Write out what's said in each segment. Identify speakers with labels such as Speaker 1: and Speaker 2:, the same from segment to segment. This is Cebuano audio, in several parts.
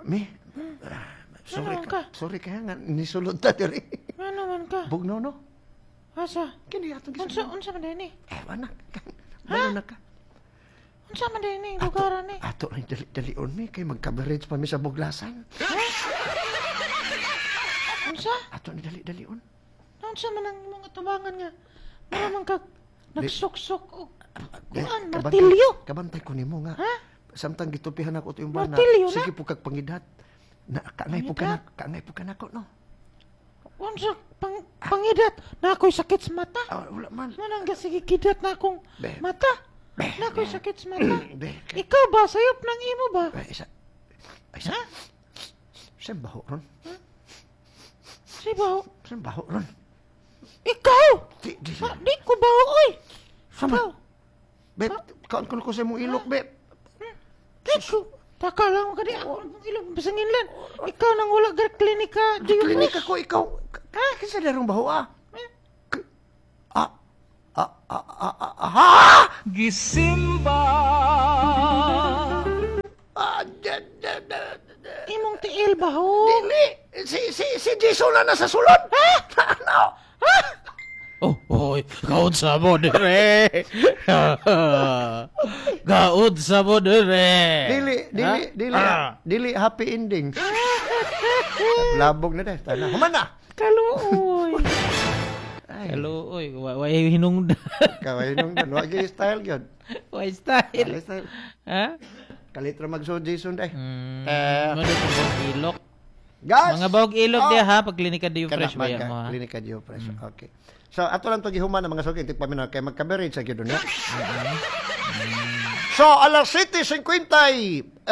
Speaker 1: Mi. Sorry
Speaker 2: Ano ka?
Speaker 1: Sorry kaya nga nisulod ta diri.
Speaker 2: Ano man ka?
Speaker 1: Bugnaw, no?
Speaker 2: Asa?
Speaker 1: Kini atong
Speaker 2: Unsa
Speaker 1: gisulod.
Speaker 2: unsa man ni?
Speaker 1: Eh, wala. Balo na ka.
Speaker 2: Unsa man ni lugar ni?
Speaker 1: Ato rin dali-dalion mi kay magka-coverage pa mi sa Buglasan.
Speaker 2: Unsa?
Speaker 1: Ato ni dali-dalion.
Speaker 2: Unsa man ang imong atubangan nga? Mura man ka nagsuksok og
Speaker 1: Eh,
Speaker 2: kuan, martilyo.
Speaker 1: Kabantay ko nimo nga.
Speaker 2: Ha?
Speaker 1: Samtang gitupihan ako ito yung bana.
Speaker 2: Martilyo na?
Speaker 1: Sige po kag pangidat. Na kaangay po ka na, kaangay po ka nako, no.
Speaker 2: Unsa pangidat na ako'y sakit sa mata?
Speaker 1: Ah, wala man.
Speaker 2: Manang sige kidat na akong
Speaker 1: Be.
Speaker 2: mata.
Speaker 1: Be.
Speaker 2: Na ako'y sakit sa mata.
Speaker 1: Be.
Speaker 2: Ikaw ba sayop ng imo ba?
Speaker 1: Ay, isa. Ay, isa. Saan baho ron?
Speaker 2: Si baho.
Speaker 1: Saan baho ron?
Speaker 2: Ikaw!
Speaker 1: Di, di.
Speaker 2: Ma, di ko baho oy.
Speaker 1: Sama.
Speaker 2: Ikaw.
Speaker 1: Be, kaon ko sa imong ilok, be.
Speaker 2: Di ko. Taka lang ka di ako ang ilong basangin lang. Ikaw nang wala gar klinika. Di
Speaker 1: Klinika ko, ikaw. Ha? Kinsa darong baho, ah? Ah, ah, ah, ah, ah, ah, ha?
Speaker 3: Gisimba.
Speaker 1: Ah, da, da, da, da.
Speaker 2: Imong tiil baho.
Speaker 1: Dili. Si Jason na nasa sulod. Ha? Ano?
Speaker 4: Oh, oy, gaud sa mo dire. Gaud sa mo dire.
Speaker 1: Dili, dili, dili,
Speaker 4: Ah.
Speaker 1: dili happy ending. Labog na dahil. Tana. Human na.
Speaker 2: Kaluoy.
Speaker 1: Ay,
Speaker 4: Hello, oy, wa wa hinungdan.
Speaker 1: Kaway nung dan. Wag yung style yun.
Speaker 4: Wa style.
Speaker 1: Wag style.
Speaker 4: Ha?
Speaker 1: Kalit ra magsuod Jason dai.
Speaker 4: Eh, mo dito ilok.
Speaker 1: Gas!
Speaker 4: Mga bawog ilok
Speaker 1: Oh.
Speaker 4: diha ha, pag klinika di
Speaker 1: Kana,
Speaker 4: fresh ba yan mo ha?
Speaker 1: Klinika Dio Fresh. Okay. So ato lang to gihuman ang mga suki tik paminaw kay magka-coverage sa gyud niya. So alas 7:55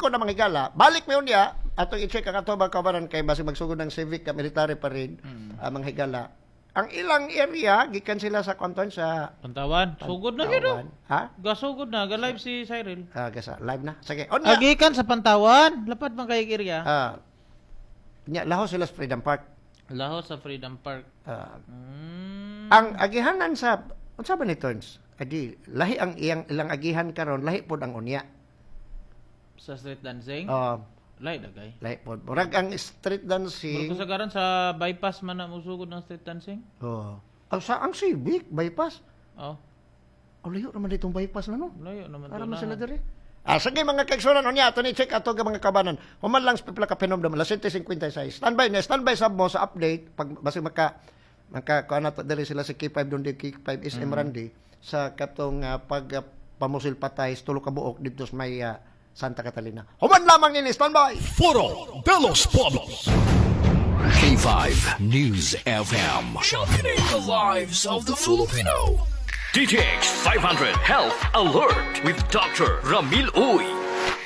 Speaker 1: na mga higala, balik mi unya atong i-check ang ato mga kabaran kay basig magsugod ng civic ka military pa rin ang mga higala. Ang ilang area gikan sila sa kanton sa
Speaker 4: Pantawan, sugod na gyud. Oh.
Speaker 1: Tawan. Ha?
Speaker 4: Gasugod na, ga live si Cyril.
Speaker 1: Ah, gasa live na. Sige. Unya.
Speaker 4: Agikan sa Pantawan, lapad man kay area.
Speaker 1: Ah. Nya laho sila sa Freedom Park.
Speaker 4: Laho sa Freedom Park.
Speaker 1: Ah, ang agihanan sa unsa ba ni Turns? Adi lahi ang iyang ilang agihan karon, lahi pod ang unya.
Speaker 4: Sa street dancing.
Speaker 1: Oh,
Speaker 4: Lahi dagay.
Speaker 1: lahi pod. Murag ang street
Speaker 4: Murag
Speaker 1: dancing.
Speaker 4: kasagaran sa bypass man na musugod ng street dancing.
Speaker 1: Oh. Ang sa ang Civic bypass.
Speaker 4: Oh,
Speaker 1: Oh, layo naman ditong bypass na no.
Speaker 4: layo naman
Speaker 1: Para
Speaker 4: to
Speaker 1: man
Speaker 4: na.
Speaker 1: sila diri. Ah, sige mga kaigsunan, unya ato ni check ato nga mga kabanan. Human lang sa pipila ka pinomdom alas 7:56. Standby na, standby sab mo sa update pag basig maka maka kuan nato diri sila sa K5 doon di K5 SM Randy sa katong pag pamusil patay sa tulo ka buok didto sa may Santa Catalina. Human lamang nini, standby.
Speaker 5: Foro de los Pueblos.
Speaker 6: K5 News FM.
Speaker 5: Championing the lives of the Filipino.
Speaker 7: DTX 500 Health Alert with Dr. Ramil Uy.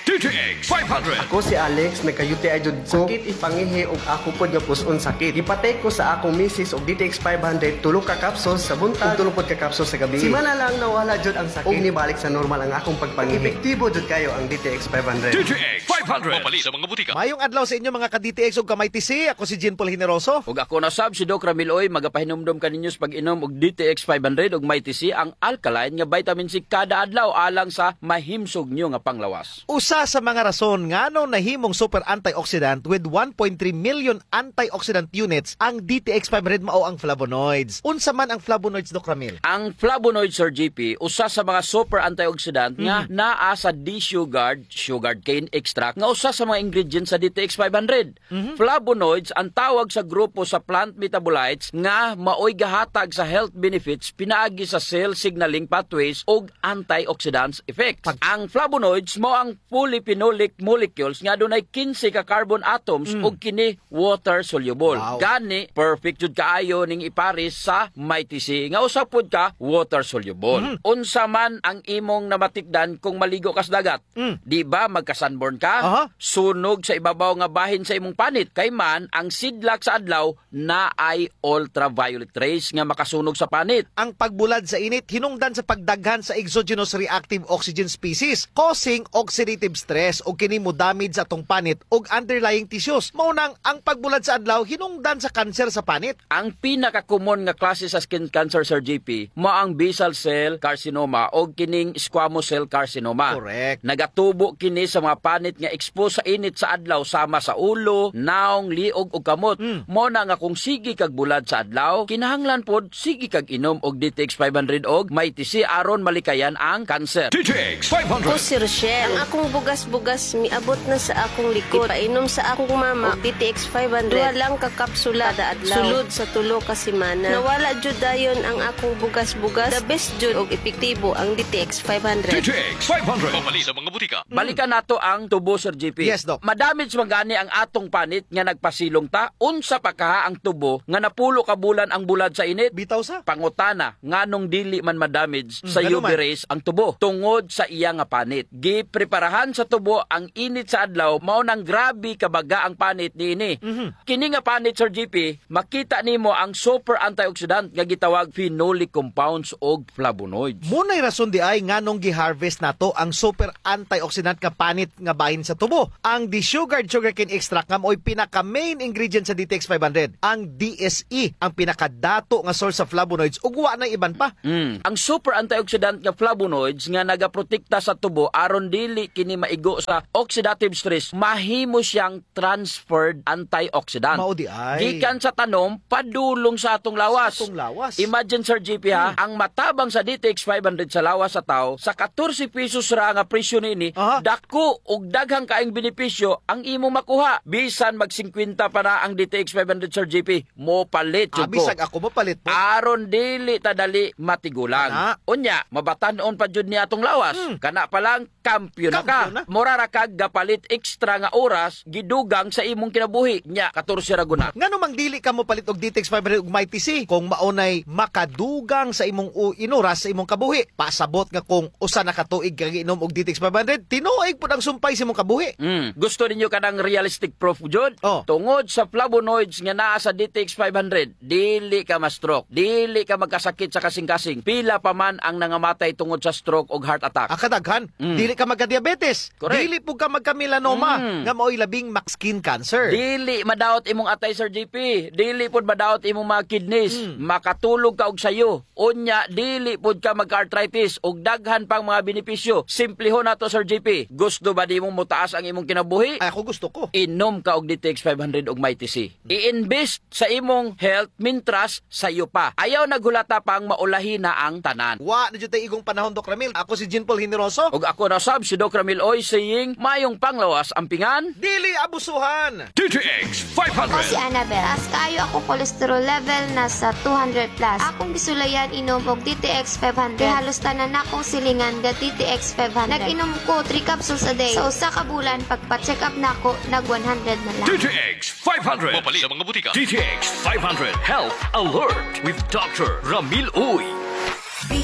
Speaker 7: DTX 500.
Speaker 8: Ako si Alex, nagka-UTI jud ko. Sakit ipangihi og ako pod nga puson sakit. Gipatay ko sa akong misis og DTX 500, tulo ka capsules sa buntag ug tulo pod ka capsules sa gabi. Simana lang nawala jud ang sakit ug nibalik sa normal ang akong pagpangihi. Epektibo jud kayo ang DTX 500.
Speaker 7: DTX 500. Papalit sa mga butika.
Speaker 9: Mayong adlaw sa inyo mga ka-DTX ug ka-MyTC. Ako si Jean Paul Generoso.
Speaker 10: Ug ako na sab si Doc Ramil Oy, magapahinumdom kaninyo sa pag-inom og DTX 500 ug Mighty C, ang alkaline nga vitamin C kada adlaw alang sa mahimsog nyo nga panglawas.
Speaker 9: Usa sa mga rason ngano nahimong super antioxidant with 1.3 million antioxidant units ang DTX 500 mao ang flavonoids. Unsa man ang flavonoids, Doc Ramil?
Speaker 10: Ang flavonoid, Sir JP, usa sa mga super antioxidant nga naa sa D-sugared sugar cane extract nga usa sa mga ingredients sa DTX 500. Flavonoids ang tawag sa grupo sa plant metabolites nga maoy gahatag sa health benefits pinaagi sa cell signaling pathways ug antioxidants effects. Ang flavonoids mao ang polyphenolic molecules nga adunay 15 ka carbon atoms ug kini water soluble. Gani perfect jud kaayo ning ipares sa Mighty C nga usa pud ka water soluble. Unsa man ang imong namatikdan kung maligo ka sa dagat? Di ba magka-sunburn ka? Sunog sa ibabaw nga bahin sa imong panit kay man ang sidlak sa adlaw na ay ultraviolet rays nga makasunog sa panit.
Speaker 9: Ang pagbulad sa init hinungdan sa pagdaghan sa exogenous reactive oxygen species causing oxidative oxidative stress o kini mo damage sa atong panit og underlying tissues. Mao nang ang pagbulad sa adlaw hinungdan sa kanser sa panit.
Speaker 10: Ang pinaka-common nga klase sa skin cancer, Sir JP, mao ang basal cell carcinoma o kining squamous cell carcinoma.
Speaker 9: Correct.
Speaker 10: Nagatubo kini sa mga panit nga expose sa init sa adlaw sama sa ulo, naong, liog ug kamot. Mo na nga kung sige kag bulad sa adlaw, kinahanglan pod sige kag inom og DTX 500 og Mighty C aron malikayan ang cancer.
Speaker 7: DTX 500.
Speaker 11: Ako si Rochelle. Ang akong bugas-bugas miabot na sa akong likod. Painom sa akong mama og DTX 500. Duha lang ka kapsula kada adlaw. Sulod sa 3 ka semana. Nawala jud dayon ang akong bugas-bugas. The best jud og epektibo ang DTX 500.
Speaker 7: DTX 500. Papalit sa mga butika.
Speaker 10: Balikan nato ang tubo, Sir JP.
Speaker 9: Yes, Doc.
Speaker 10: Madamage man gani ang atong panit nga nagpasilong ta, unsa pa kaha ang tubo nga napulo ka bulan ang bulad sa init?
Speaker 9: Bitaw sa.
Speaker 10: Pangutana, nganong dili man madamage sa
Speaker 9: Ngano
Speaker 10: UV
Speaker 9: man?
Speaker 10: rays ang tubo tungod sa iya nga panit. Gipreparahan sa tubo ang init sa adlaw, mao nang grabe kabaga ang panit niini. Kini nga panit, Sir JP, makita nimo ang super antioxidant nga gitawag phenolic compounds og flavonoids.
Speaker 9: Munay rason di ay nganong gi-harvest nato ang super antioxidant nga panit nga bahin sa tubo. Ang desugared sugarcane extract nga mo'y pinaka main ingredient sa DTX 500. Ang DSE ang pinakadato nga source sa flavonoids ug wa na iban pa.
Speaker 10: Ang super antioxidant nga flavonoids nga nagaprotekta sa tubo aron dili kini maigo sa oxidative stress, mahimo siyang transferred antioxidant.
Speaker 9: Mao di ay.
Speaker 10: Gikan sa tanom padulong sa atong lawas.
Speaker 9: Sa atong lawas.
Speaker 10: Imagine, Sir JP ha, ang matabang sa DTX 500 sa lawas sa tao, sa 14 pesos ra nga presyo niini, dako og daghang kaayong benepisyo ang imong makuha. Bisan mag 50 pa na ang DTX 500, Sir JP, mo palit jud
Speaker 9: Ah,
Speaker 10: ko.
Speaker 9: bisag ako mapalit po.
Speaker 10: Aron dili ta dali matigulang.
Speaker 9: Kana.
Speaker 10: Unya, mabatan-on pa jud ni atong lawas. Kana pa lang kampiyon na ka.
Speaker 9: Kampiyon na.
Speaker 10: Mura ra kag gapalit extra nga oras gidugang sa imong kinabuhi. Nya 14 ra guna.
Speaker 9: Ngano mang dili ka mo palit og DTX 500 ug Mighty C kung maunay makadugang sa imong inuras sa imong kabuhi. Pasabot nga kung usa na ka tuig ka giinom og DTX 500, tinuig pud ang sumpay sa imong kabuhi.
Speaker 10: Gusto ninyo kanang realistic proof jud?
Speaker 9: Oh.
Speaker 10: Tungod sa flavonoids nga naa sa DTX 500, dili ka ma-stroke, dili ka magkasakit sa kasing-kasing. Pila pa man ang nangamatay tungod sa stroke og heart attack.
Speaker 9: Ah, kadaghan, dili ka magka-diabetes,
Speaker 10: Correct.
Speaker 9: dili pud ka magka-melanoma nga mao'y labing mak skin cancer.
Speaker 10: Dili madaot imong atay, Sir JP. Dili pud madaot imong mga kidneys. Makatulog ka og sayo. Unya dili pud ka magka-arthritis ug daghan pang mga benepisyo. Simplehon nato, Sir JP. Gusto ba nimo motaas ang imong kinabuhi?
Speaker 9: Ay, ako gusto ko.
Speaker 10: Inom ka og DTX 500 og Mighty C. I-invest sa imong health mintras sayo pa. Ayaw naghulata pang maulahi na ang tanan.
Speaker 9: Wa na jud tay igong panahon, Doc Ramil. Ako si Jean Paul Generoso.
Speaker 10: Ug ako na sab si Doc Ramil Oy saying mayong panglawas ampingan.
Speaker 9: Dili abusuhan.
Speaker 7: DTX
Speaker 12: Ako si
Speaker 7: 500.
Speaker 12: Annabel. Taas kaayo ako cholesterol level nasa 200 plus. Akong gisulayan inom og DTX 500. Kay halos tanan akong silingan ga DTX 500. Nag-inom ko 3 capsules a day. Sa usa ka bulan pagpa-check up nako nag 100 na lang.
Speaker 7: DTX 500. Papalit sa mga butika. DTX 500 Health Alert with Dr. Ramil Uy.